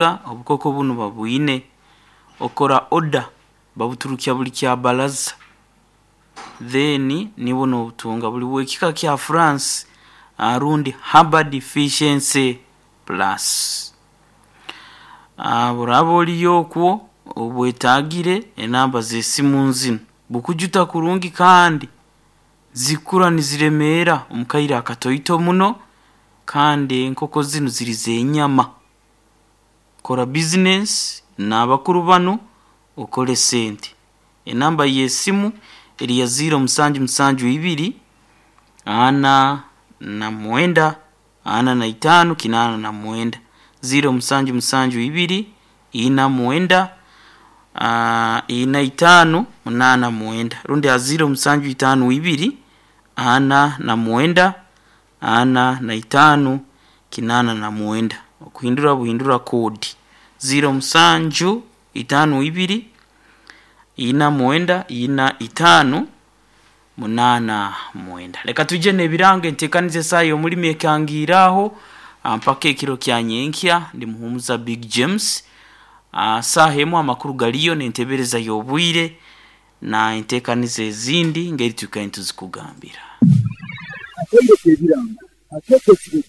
Obukoko bunu babwine, okora oda babuturukya buri kyabaraza then niiwe noobutunga buri bw'ekika kya France rundi Herbal Deficiency Plus. Oraaba oriyo okwo obwetagire enamba z'esimu nzinu, bukujuta kurungi kandi zikura niziremeera omu kaire akatoito muno kandi enkoko zinu ziri z'enyama. Kora bizinesi n'abakuru banu okore sente. Enamba y'esimu eri ya ziiro musanju musanju ibiri, ana na mwenda, ana na itaano, kinaana na mwenda. Ziiro musanju musanju ibiri, ina mwenda, ina itaano, munaana mwenda rundi aha ziiro musanju itaano ibiri, ana na mwenda, ana na itaano, kinaana na mwenda. Okuhindura buhindura koodi ziiro musanju itaano ibiri, ina mwenda, ina itaano, munaana mwenda. Reka twije n'ebirango enteekaniza esaaha y'omurimo ekangiire aho mpaka ekiro kya nyenkya. Ndi Muhumuza Big James. Saaha emwe amakuru gariyo n'entebeereza y'obwire na enteekaniza ezindi ngeri twikaire nituzikugambira. Akaire k'ebirango akeekyo ekirego.